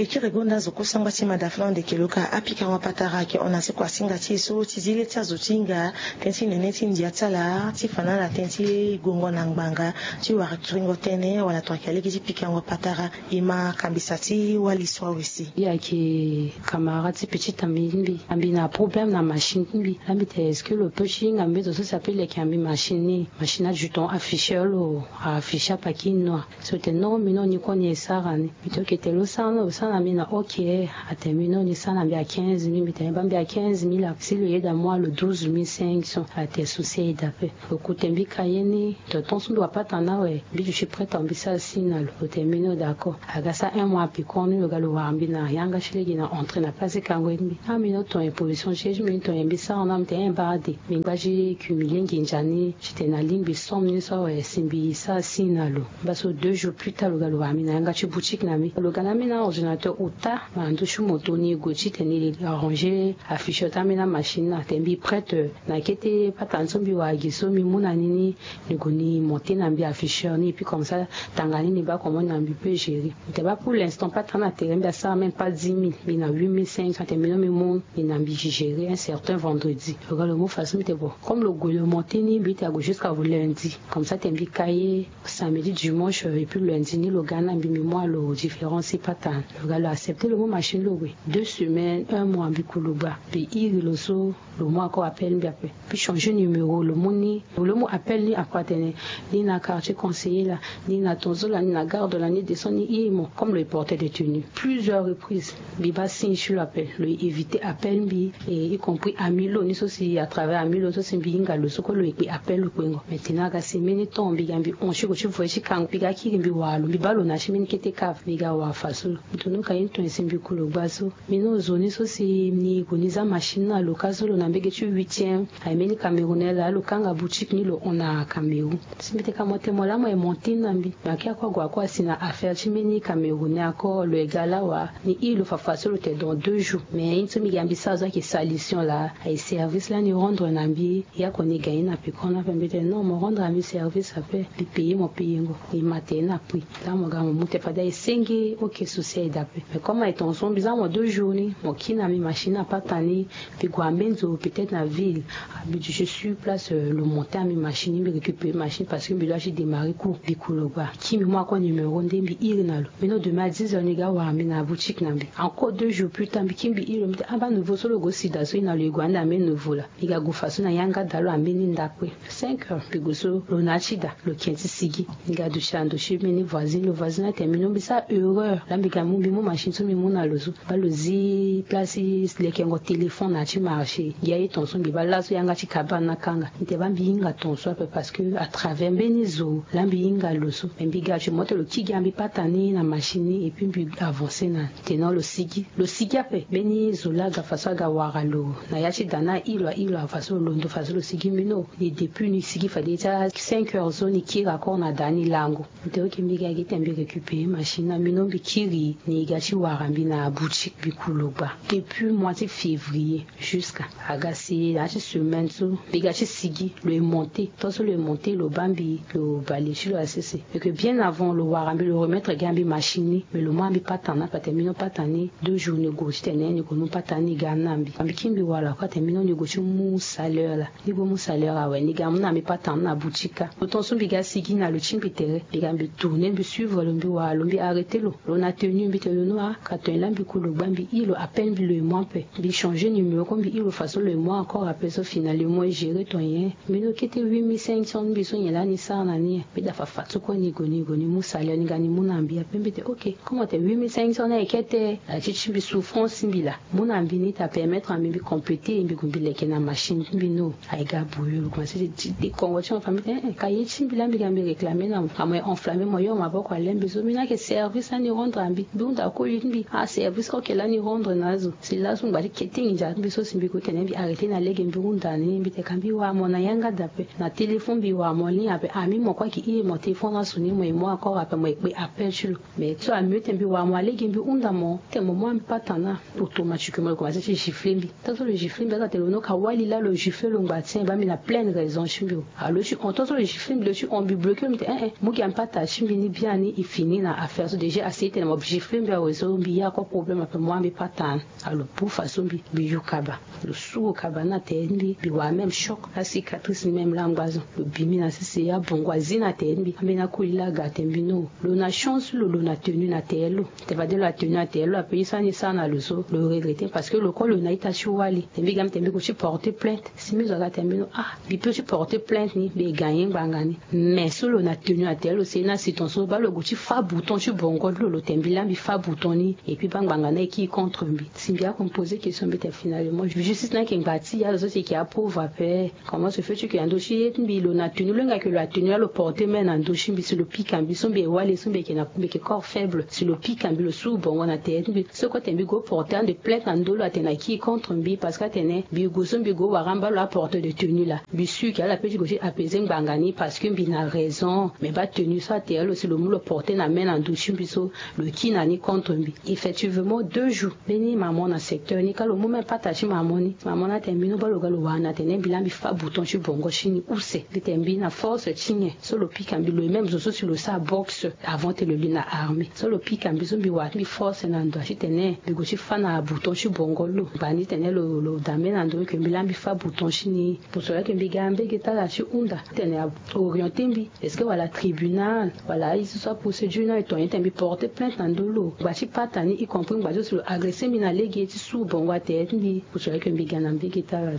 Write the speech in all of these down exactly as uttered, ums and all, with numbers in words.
E kiri gonda zo kosangba ti mada fana ande keloka apikango patara ayeke hon na seko asinga ti e so ti zi le ti azo ti hinga tënë ti nene ti ndia ti ala ti fa na ala tënë ti gongo na ngbanga ti wara kiringo tënë wala tongana ayeke lege ti pikango patara. E ma kambisa ti wali so awe si. Ye ayeke camarade ti petit ami ti mbi, ambi na problème na machine ti mbi. Ambi te est-ce que lo peut ti hinga mbeto so si ape leke ambi machine ni, machine ajuton afficher lo afficher apaki noir. So te non mino ni koni esara ni. Mbi te oke te lo sara na lo sara na mbi na oke. Ate mino ni sara na mbi a quinze mille mbi te ba mbi a quinze mille si lo yeda moi lo douze mille cinq cents. Ate souci ayeda pe. Lo kute mbi kaye ni. Tonton so mbi wa patana awe. Mbi duti prête mbi sara si na lo. Lo te mino d'accord. Aga sara un mois apikon ni lo ga lo wara mbi na yanga ti lege na entrée na place ti kango ye ti mbi. Ah mino ton ye position ti ye ti mbi ton ye mbi sara na mbi te un bar de. Mbi ngba ti cumuler nginza ni. Ti tene na lingbi somme ni so awe si mbi sara si na lo. Mba so deux jours plus tard lo ga lo wara mbi na yanga ti boutique na mbi. Lo ga na mbi na ordinateur ota na ndö ti moto ni gue ti tene arranger afficher ti ambeni amachine ni ate mbi prête. Na kete patana so mbi wara gi so mbi mu na ni ni. Ni gue ni monter na mbi afficher ni et puis comme ça tanga ni ni ba comment na mbi peut gérer. Mbi te ba pour l'instant patana na tere mbi asara même pas dix mille mbi na huit mille cinq cents ate mbi no mbi mu ni na mbi gérer un certain vendredi. Lo ga lo mu façon mbi te bon comme lo gue lo monter ni mbi te ague jusqu'à lundi. Comme ça te mbi ka ye samedi dimanche et puis lundi ni lo ga na mbi mbi mu alo différence ti patana. Lo ga lo accepter lo mu machine lo gue deux semaines un mois mbi ku lo gba mbi iri lo so. Lo mu encore appel mbi ape. Mbi changer numéro lo mu ni lo mu appel ni akua tene ni na quartier conseiller la ni na tonzo la ni na garde la ni descend ni imo comme lo ye porter de tenue plusieurs reprises. Mbi ba signe ti lo appel lo ye éviter appel mbi. Et y compris ami lo ni so si à travers ami lo ni so si mbi hinga lo so kue lo ye kpe appel lo kpengo. Maintenant aga si mbeni temps mbi ga mbi hon ti gue ti voyer ti kango mbi ga kiri mbi wara lo mbi ba lo na ti mbeni kete cave mbi ga wara faso lo. Mbi tunu ka ye ni ton ye si mbi ku lo gba so. Mbi no zo ni so si ni gue ni za machine na lo ka so lo na mbege ti huitième. Aye mbeni camerounais laa lo kanga boutique ni lo hon na cameroun. Si mbi te ka mo te mo laa mo ye monter na mbi. Mais ake ako ague ako asi na affaire ti mbeni camerounais ako lo ye ga laa wa. Ni iri lo fafa so lo te dans deux jours mais ye ni so mbi ga mbi sara zo ayeke salition laa. Aye service laa ni rendre na mbi. Ye ako ni ga ye na pekon ape mbi te non mo rendre na mbi service ape. Mbi payer mo payengo. Ni ma te ye na prix. Laa mo ga mo mu te fade aye senge oke souci aye dape. Mais comme aye tonso mbi za mo deux jours ni mo kiri na mbi machine na patana ni. Mbi gue ambeni zo peut-être na ville. Mbi duti sur place lo monter ambi machine ni mbi récupérer machine parce que mbi doit ti démarrer cours mbi ku lo gba. Kiri mbi mu ako numéro nde mbi iri na lo. Mbi no demain à dix heures ni ga wara mbi na boutique na mbi encore deux jours plus tard mbi kiri mbi iri lo mbi te aba nouveau so lo go sida so ye na lo ye gue ande ambeni nouveau la. Mbi ga gue faso na yanga da lo ambeni ndakue. Cinq heures mbi gue so lo na ya ti da lo ken ti sigi. Mbi ga duti na ndo ti mbeni voisine lo voisine ate mbi no mbi sara erreur laa mbi ga mu mbi mu machine so mbi mu na lo so. Ba lo zi place ti lekengo téléphone na ya ti marché. Gi aye tonso mbi ba laso yanga ti kabane akanga mbi te ba mbi hinga tonso ape parce que à travers mbeni zo laa mbi hinga lo so mais mbi ga ti mo te lo kigi ambi patana ni na machine ni et puis mbi avancer na ni. Te non lo sigi lo sigi ape mbeni zo laa aga faso aga wara lo na ya ti da ni airi lo airi lo aga faso lo londo faso lo sigi mbi no. Ni depuis ni sigi fade ti a cinq heures so ni kiri akor na da ni lango. Mbi te oke mbi ga gi te mbi récupérer machine na mbi no mbi kiri ni ga ti wara mbi na boutique mbi ku lo gba. Depuis mois ti février jusqu'à aga si na ya ti semaine so mbi ga ti sigi lo ye monter tant so lo ye monter lo ba mbi lo bale ti lo asese. Meke bien avant lo wara mbi lo remettre ga mbi machine ni mais lo mu ambi patana na pate mbi no patana ni. Deux jours ni go ti tene ni go mu patana ni ga na mbi ambi kiri mbi wara lo ako ate mbi no ni go ti mu salaire la. Ni go mu salaire awe ni ga mu na mbi patana na boutique ka lo tonso mbi ga sigi na lo ti mbi tere mbi ga mbi tourner mbi suivre lo mbi wara lo mbi arrêter lo. Lo na tenue mbi te lo no a ka ton ye laa mbi ku lo gba mbi iri lo appel mbi lo ye mu ape. Mbi changer numéro ko mbi iri lo façon lo ye mu encore ape so finalement e gérer ton ye. Mbi no kete huit mille cinq cents mbi so nyen laa ni sara na ni ye. Mbi da fafa ti kue ni go ni go ni mu salaire ni ga ni mu na mbi ape mbi te oke comment te huit mille cinq cents ni aye kete. Ala ti ti mbi souffrance ti mbi laa. Mu na mbi ni ta permettre na mbi mbi compléter mbi gue mbi leke na machine ti mbi no. Aye ga bouillon lo commencer ti ti dekongo ti mo fa mbi te eh eh ka ye ti mbi laa mbi ga mbi réclamer na mo amo ye enflammer mo yo maboko alembe so mbi ni ayeke service laa ni rendre na mbi mbi hunda koli ti mbi ah service oke laa ni rendre na azo. Si laso ngba ti kete nginza ti mbi so si mbi gue tene mbi arrêter na lege mbi hunda ni mbi te ka mbi wara mo na yanga dape na téléphone mbi wara mo ni ape ami mo kue ayeke iri mo téléphone aso ni mo ye mu encore ape mo ye kpe appel ti lo. Mais so amieux te mbi wara mo alege mbi hunda mo te mo mu ambi patana. Automatiquement lo commencer ti gifler mbi. Tant so lo gifler mbi aza te lo no ka wali laa lo gifler lo ngba ti en ba mbi na pleine raison ti mbi o. Alo ti hon tant so lo gifler mbi lo ti hon mbi bloquer lo mbi te eh eh mu gi ambi patana ti mbi ni biani e fini na affaire so déjà asi tene mo gifler mbi. Awe so mbi ya ko problème ape mo ambi pata. Alo bufa so mbi mbi yu kaba. Lo su kaba na tere ti mbi mbi wara même choc, asicatrice ni même langba zo. Lo bi mbi na sese abongo azi na tere ti mbi ambeni akoli laa aga tene mbi no. Lo na chance lo lo na tenu na tere lo. Te fade lo atenu na tere lo ape ye so ani sara na lo so lo regrete parce que lo ko lo na ita ti wali te mbi ga mbi te mbi go ti porter plainte. Si mbi zo aga te mbi no ah mbi pe ti porter plainte ni mbi e gagner ngbanga ni. Mais so lo na tenu na tere lo si ye ni asi ton so baa lo go ti fa bouton ti bongo ti lo lo te mbi laa mbi fa bouton ni. Et puis baa ngbanga ni ayeke contre mbi si mbi ako mbi poser question mbi te finalement justice ni ayeke ngba ti ya lo so si eke aprouve ape. Comment se fait tu ke na ndo ti ye ti mbi lo na tenu lo hinga ke lo atenu laa lo porter main na ndo ti mbi si lo pika mbi so mbi e wali so mbi eke na mbi eke corps faible si lo pika mbi lo su bongo na tere ti mbi so ko te mbi go porter ande plainte na ndo lo atene aki contre mbi parce que atene mbi go so mbi go wara mba lo aporter de tenu laa mbi su ke ala pe ti go ti apaiser ngbanga ni parce que mbi na raison. Mais baa tenu so atere lo si lo mu lo porter na main na ndo ti mbi so lo ki na ni contre mbi. Effectivement deux jours mbeni mamo na secteur ni ka lo mu même pata ti mamo ni mamo ni atene mbi no baa lo ga lo wara ni atene mbi laa mbi fa bouton ti bongo ti ni use mbi tene mbi na force ti nyen so lo pika mbi lo ye même zo so si lo sara boxe avant te lo li na armée so lo pika mbi so mbi wara ti mbi force na ndo ti tene mbi go ti fa na bouton ti bongo lo bani tene lo lo dame na ndo ke mbi laa mbi fa bouton ti ni. Pour cela ke mbi ga mbege ti ala ti hunda tene a orienter mbi est-ce que wala tribunal wala aye so so aprocédure ni aye ton ye te mbi porter plainte na ndo lo ngba ti pata ni y compris ngba ti so si lo agresser mbi na lege ti su bongo atere ti mbi. Pour cela ke mbi ga na mbege ti ala.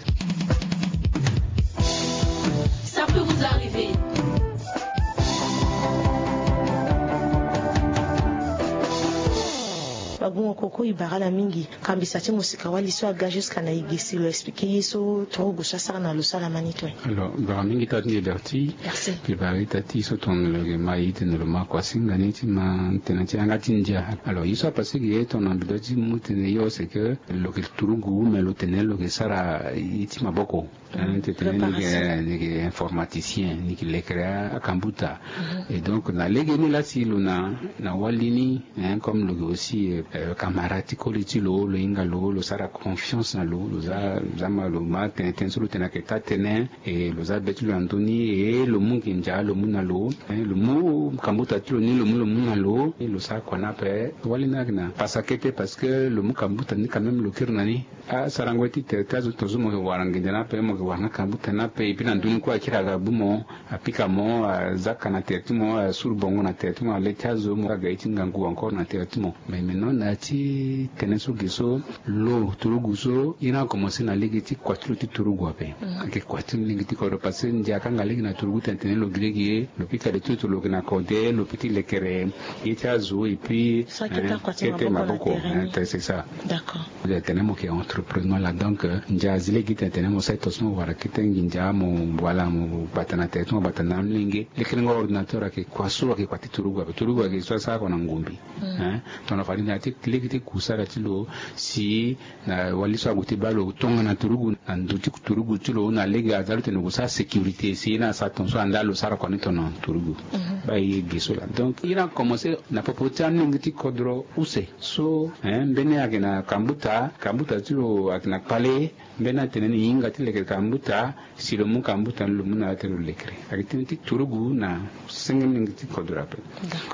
Ça peut vous arriver. Babungo koko e bara ala mingi. Kambisa ti mosika wali so aga jusqu'à na e ge si lo expliquer ye so turugu so asara na lo so ala ma ni toi. Alors bara mingi taa ti ndia berti. Merci. Mbi bara ita ti so tongana lo yeke ma e tene lo ma kuasinga ni ti ma tene ti yanga ti ndia. Alors ye so apase ge ye tongana mbi doit ti mu tene yo c'est que lo yeke turugu mais lo tene lo yeke sara ye ti maboko. Hein, ti tene ni yeke informaticien ni yeke lekere akambuta. Et donc na lege ni laa si lo na na wali ni hein comme lo yeke aussi camarade ti koli ti lo lo hinga lo lo sara confiance na lo lo za lo za ma lo ma tene tënë so lo tene ayeke taa tënë. Et lo za be ti lo na ndö ni et lo mu nginza lo mu na lo. Lo mu kambuta ti lo ni lo mu lo mu na lo et lo sara kua ni ape. Wali ni ayeke na pasa kete parce que lo mu kambuta ni quand même lo kiri na ni. Asarango ye ti tere ti azo tongaso mo yeke wara nginza ni ape mo yeke wara nga kambuta ni ape et puis na ndö ni kue akiri aga bu mo. Apika mo aza ka na tere ti mo asuru bongo na tere ti mo ale ti azo mo aga ye ti ngangu encore na tere ti mo. Mais maintenant na ya ti tënë so ge so lo turugu so ye ni akomanse na lege ti kua ti lo ti turugu ape. Ayeke kua ti lege ti kodro parce que ndia akanga lege na turugu tene tene lo gi lege ye lo pika de ti lo ti lo yeke na kode lo pe ti lekere ye ti azo et puis kete maboko. C'est ça. D'accord. Tene mo yeke entrepreneur la donc ndia azi lege tene tene mo sara tongaso mo wara kete nginza mo wala mo bata na tere ti mo bata na amolenge. Lekerengo ordinateur ayeke kua so ayeke kua ti turugu ape turugu ayeke so asara kua na ngombi. Hein tongana fade na ya ti lege ti kusara ti lo si na wali so ague ti baa lo tongana turugu na ndo ti turugu ti lo na lege aza lo tene lo gue sara sécurité si ye ni asara tongaso anda lo sara kua ni tongana turugu. Baa ye ge so la donc ye ni akomanse na popo ti amolenge ti kodro use. So hein mbeni ayeke na kambuta kambuta ti lo ayeke na kpale. Mbeni atene ni hinga ti lekere kambuta si lo mu kambuta ni lo mu na ya ti lo lekere. Ayeke tënë ti turugu na senge mingi ti kodro ape.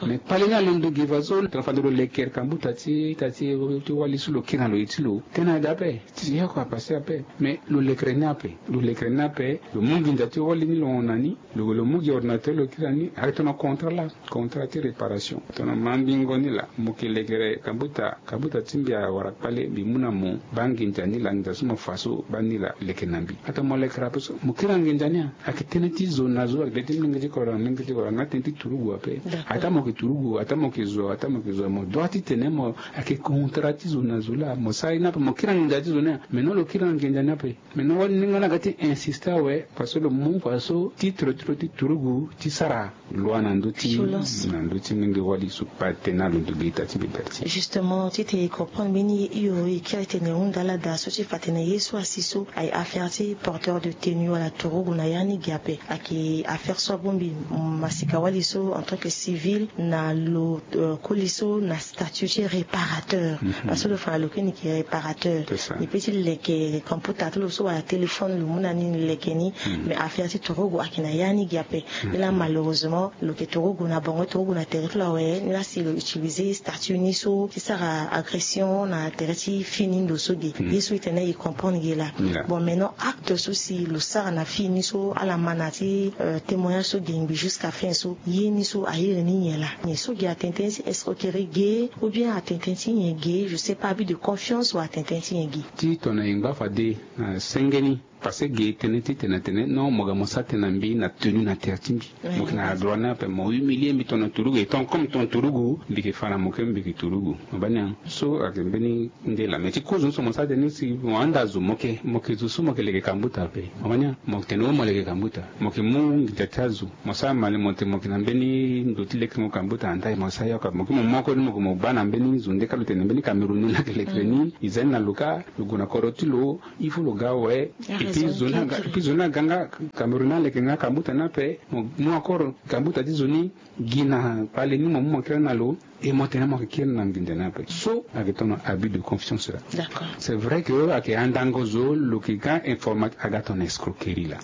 Mais kpale ni alondo gi faso tongana fade lo lekere kambuta ti ita ti wali so lo kiri na lo ye ti lo tënë ade ape. Ti yoko apase ape. Mais lo lekere ni ape lo lekere ni ape lo mu nginza ti wali ni lo hon na ni. Lo lo mu gi ordinateur lo kiri na ni ayeke tongana contrat laa. Contrat ti réparation tongana mandingo ni laa mo yeke lekere kambuta kambuta ti mbi awara kpale mbi mu na mo. Baa nginza ni laa nginza so mo fa so baa ni laa leke na mbi. Atongana mo lekere ape so mo kiri na nginza ni a ayeke tënë ti zo na zo ayeke be ti molenge ti kodro na molenge ti kodro nga tënë ti turugu ape. Ataa mo yeke turugu ataa mo yeke zo ataa mo yeke zo mo doit ti tene mo ayeke contrat ti zo na zo laa mo sara ye ni ape mo kiri na nginza ti zo ni a. Mais non lo kiri na nginza ni ape. Mais non wali ni nga na ga ti insiste awe. Parce que lo mu faso titre ti lo ti turugu ti sara loi na ndö ti na ndö ti mingi wali so pa tena lo ndugi ita ti mbi berti. Justement ti te e comprendre mbeni ye hio e kiri tene e hunda ala daa so ti fa tene ye so asi so aye affaire ti porteur de tenue wala turugu na ya ni gi ape. Ayeke affaire so abongbi masika wali so en tant que civil na lo koli so na statut ti parateur. Parce que lo fa na lo kue ni ke réparateur. Ni pe ti leke computer ti lo so wala téléphone lo mu na ni leke ni. Mais affaire ti turugu ayeke na ya ni gi ape. Ni laa malheureusement lo yeke turugu na bango turugu na tere ti lo awe ni laa si lo utiliser statut ni so ti sara agression na tere ti fini ndo so ge. Ye so e tene e comprendre ge laa. Bon, maintenant acte so si lo sara na fini so ala ma na ti témoignage so ge ngbi jusqu'à fin so ye ni so a iri ni nyen laa? Nyen so ge atene tënë ti escroquerie ge ou bien atene tënë ti nyen ge? Je sais pas, abus de confiance ou atene tënë ti nyen ge? Ti tongana e ngba fade na senge ni. Parce que ge tënë ti tene atene non mo ga mo sara tënë na mbi na tenue na tere ti mbi. Mo yeke na adroit ni ape mo humilier mbi tongana turugu e tongana comme tongana turugu mbi yeke fa na mo kue mbi yeke turugu. Mo baa ni an so ayeke mbeni nde laa mais ti kozo ni so mo sara tënë ni si mo handa zo mo yeke mo yeke zo so mo yeke leke kambuta ape. Mo baa ni an mo yeke tene o mo leke kambuta mo yeke mu nginza ti azo. Mo sara mali mo tene mo yeke na mbeni ndo ti lekengo kambuta na ndali mo sara yoko ape mo kue mo mu akoni mo yeke mo baa na mbeni zo nde kâ lo tene mbeni cameroun ni laa yeke leke ni. E za ni na lo kâ lo gue na kodro ti lo. Il faut lo ga awe. Et puis zo ni aga nga cameroun ni aleke nga kambuta ni ape. Mo mu akoro kambuta ti zo ni gi na kpale ni mo mu mo kiri na lo. Et mo tene mo yeke kiri na nginza ni ape so ayeke tongana abus de confiance laa. C'est vrai que ayeke andango zo lo yeke ga informatique aga tongana escroquerie laa.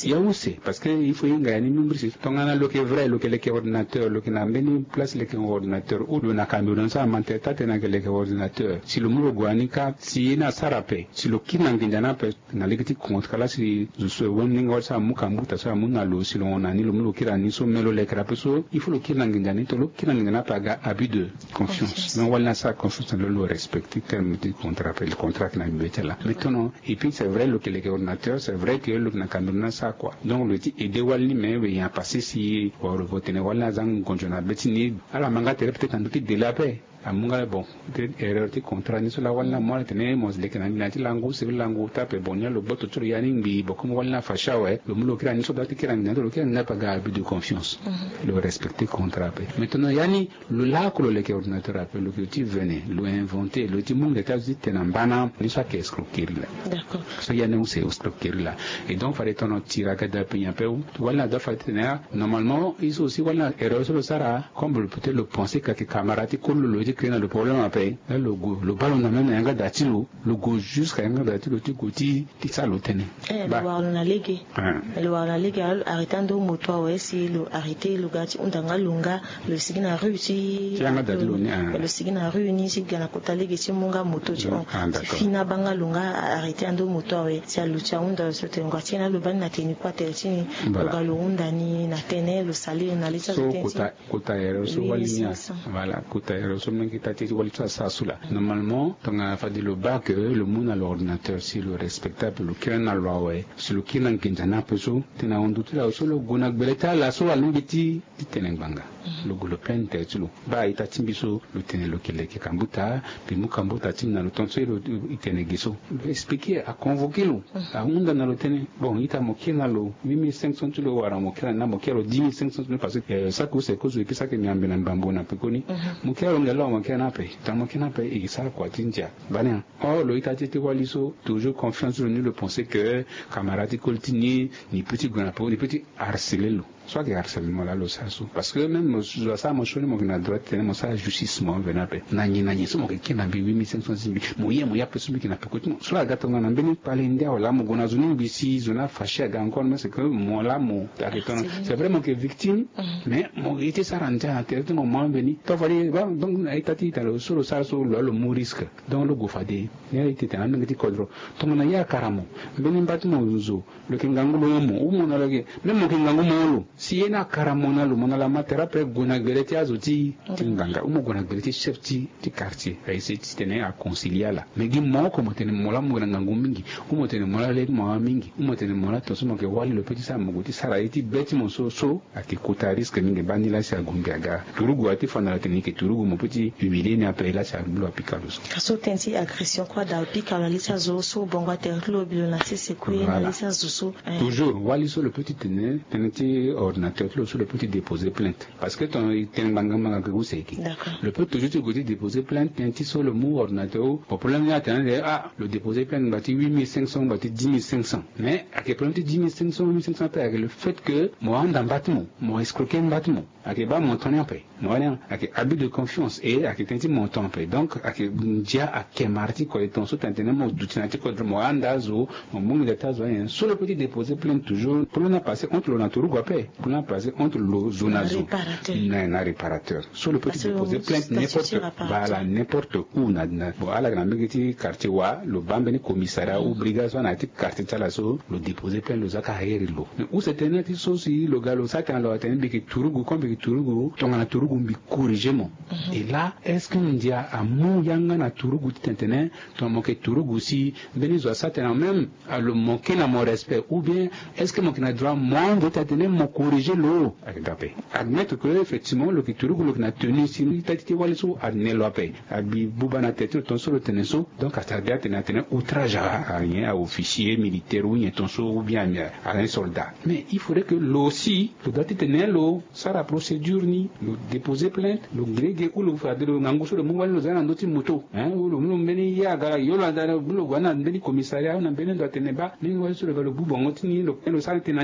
Ya use parce que il faut e hinga ya ni mimbri si tongana lo yeke vrai lo yeke leke ordinateur lo yeke na mbeni place leke ordinateur ou lo na cameroun so amantere taa tene ayeke leke ordinateur si lo mu lo gue na ni kâ si ye ni asara ape si lo kiri na nginza ni ape. Na lege ti contrat laa si zo so e wani ni nga wali so amu kambuta so amu na lo si lo hon na ni lo mu lo kiri na ni so me lo lekere ape so il faut lo kiri na nginza ni to lo kiri na nginza ni ape aga abus de confiance. Donc wali ni asara confiance na lo lo respecter terme ti contrat ape le contrat ayeke na mbi be ti ala mais tono. Et puis c'est vrai lo yeke leke ordinateur c'est vrai que lo yeke na cameroun ni asara kua donc lo ye ti aider wali ni mais we ya passé si wala lo vo tene wali ni aza ngonzo na be ti ni. Ala ma nga tere peut-être na ndö ti délai ape. Amu nga bon erreur ti contrat ni so laa wali ni amu ala tene mo leke na nginza ti langu seri langu taa ape bon ni alo gboto ti lo ya ni ngbii bon comme wali ni afacha awe lo mu lo kiri na ni so daa ti kiri na nginza ni so lo kiri na nginza ni ape aga abus de confiance. Lo respecter contrat ape mais tongana ya ni lo laoko lo leke ordinateur ape lo yeke ti vene lo inventer lo ye ti mu nginza ti azo ti tene na mbana ni so ayeke escroquerie laa. So ya ni use escroquerie laa. Et donc fade tongana tira gada ape nyen ape wali ni adoit fade ti tene ah normalement ye so aussi wali ni erreur so lo sara. Comme lo peut-être lo pense que ayeke camarade ti koli lo lo ye ti créer na lo problème ape. Là lo gue lo baa lo na même na yanga da ti lo lo gue jusqu'à yanga da ti lo ti gue ti ti sara lo tënë. Lo wara lo na lege. Lo wara lo na lege alors lo arrêter ando moto awe si lo arrêter lo ga ti hunda nga lo nga lo sigi na rue ti yanga da ti lo ni. Lo sigi na rue ni ti ga na kota lege ti mu nga moto ti hon ti fini abaa nga lo nga arrêter ando moto awe si alo ti ahunda lo so tene ngua ti ye na lo baa ni na teni kue atere ti ni. Lo ga lo hunda ni na tënë lo sali lo na le ti azo tënë ti ni. Kota erreur so wali ni a. Voilà kota erreur so menge taa ti wali so asara so laa normalement tongana fade lo baa ke lo mu na lo ordinateur si lo respectable lo kiri na lo awe. Si lo kiri na nginza ni ape so tena ahundu ti lo awe so lo gue na gbele ti ala so alingbi ti ti tene ngbanga. Lo gue lo plaindre tere ti lo baa a-ita ti mbi so lo tene lo yeke leke kambuta. Mbi mu kambuta ti mbi na lo tongaso e tene ge so. Lo expliquer aconvoquer lo ahunda na lo tënë. Bon ita mo kiri na lo huit mille cinq cents ti lo wala mo kiri na ni na mo kiri na lo dix mille cinq cents ti lo parce que saki use kozo e kiri saki miambe na mbambo na pekoni. Mo kiri na lo nge lo mo kiri na ape tongana mo kiri na ape e sara kua ti ndia. Bani an or lo ita ti e ti wali so toujours confiance ti lo ni lo pense que camarade ti koli ti ni ni pe ti gue na pekoni ni pe ti harceler lo. So ayeke harcèlement laa lo sara so parce que même mo zo asara mo sioni mo yeke na droit ti tene mo sara justice mo veni ape na nyen na nyen so mo yeke kiri na mbi huit mille cinq cents ti mbi. Mo ye mo ye ape so mbi yeke na peko ti mo so aga tongana mbeni kpale ndia wala mo gue na zo ni ngbi si zo ni afache aga encore mais c'est que mo laa mo ayeke tongana c'est vrai mo yeke victime. Mais mo ye ti sara ndia na tere ti mo mo ambeni to fade ba donc na ita ti ita lo so lo sara so lo laa lo mu risque. Donc lo gue fade ni aye ti tene amenge ti kodro tongana ye akara mo mbeni mba ti mo zo lo yeke ngangu lo mo ou mo na lo yeke même mo yeke ngangu mo lo. Si ye ni akara mo na lo mo na lo ama tere ape gue na gbele ti azo ti ti ngbanga ou mo gue na gbele ti chef ti ti quartier a essayer ti tene a concilie ala. Mais gi mo oko mo tene mo laa mo yeke na ngangu mingi ou mo tene mo laa le ti mo ama mingi ou mo tene mo laa tongaso mo yeke wali lo pe ti sara mo gue ti sara ye ti be ti mo so so ayeke kota risque mingi baa ni laa si ague mbi aga turugu aye ti fa na lo atene e yeke turugu mo pe ti humilie ni ape laa si ague mbi lo apika lo so. Ka so tënë ti agression kue ada lo pika lo na le ti azo so bongo atere ti lo bi lo na sese kue na le ti azo so. Toujours wali so lo pe ti tene tënë ti ordinateur ti lo so lo pe ti déposer plainte. Parce que tongana e tene ngbanga ngbanga ke use eke. Lo pe toujours ti gue ti déposer plainte tënë ti so lo mu ordinateur ou problème ni atene ande ah lo déposer plainte ngba ti huit mille cinq cents ngba ti dix mille cinq cents. Mais ayeke problème ti dix mille cinq cents huit mille cinq cents ape ayeke le fait que mo ahunda mba ti mo mo escroquer mba ti mo. Ayeke baa montant ni ape. Mo wani ayeke abus de confiance e ayeke tënë ti montant ape. Donc ayeke ndia akemara ti kode tongaso tene tene mo duti na ti kode mo handa azo, mo mu nginza ti azo anyen so lo pe ti déposer plainte toujours. Problème ni apasser entre lo na turugu ape. Problème ni apasser entre lo zo na zo na réparateur. So lo pe ti déposer plainte n'importe bala n'importe où na na bon ala yeke na mbege ti quartier wa lo baa mbeni commissariat ou brigade so ana ya ti quartier ti ala so lo déposer plainte lo za ka heri lo. Mais use tene na ti so si lo ga lo sara tena lo atene mbi yeke turugu comme mbi yeke turugu tongana turugu mbi corriger mo. Et là est-ce que ndia amu yanga na turugu ti tene tene tongana mo yeke turugu si mbeni zo asara tena même alo manquer na mo respect ou bien est-ce que mo yeke na droit mo ande ti atene mo corriger lo? Ayeke dape admettre que effectivement lo yeke turugu lo yeke na tenue si ita ti ti wali so ane lo ape. Abi buba na tete lo tongaso lo tene so. Donc asara bi atene atene outrage a rien a officier militaire ou nyen tongaso ou bien ami a rien soldat. Mais il faudrait que lo aussi lo doit ti tene lo sara procédure ni lo déposer plainte lo gi lege ou lo fade lo ngangu so lo mu wali lo za na ndö ti moto hein ou lo mu lo mbeni ye aga yo lo aza lo mu lo gue na mbeni commissariat ou na mbeni ndo atene baa mingi wali so lo ga lo bu bongo ti ni lo sara tena.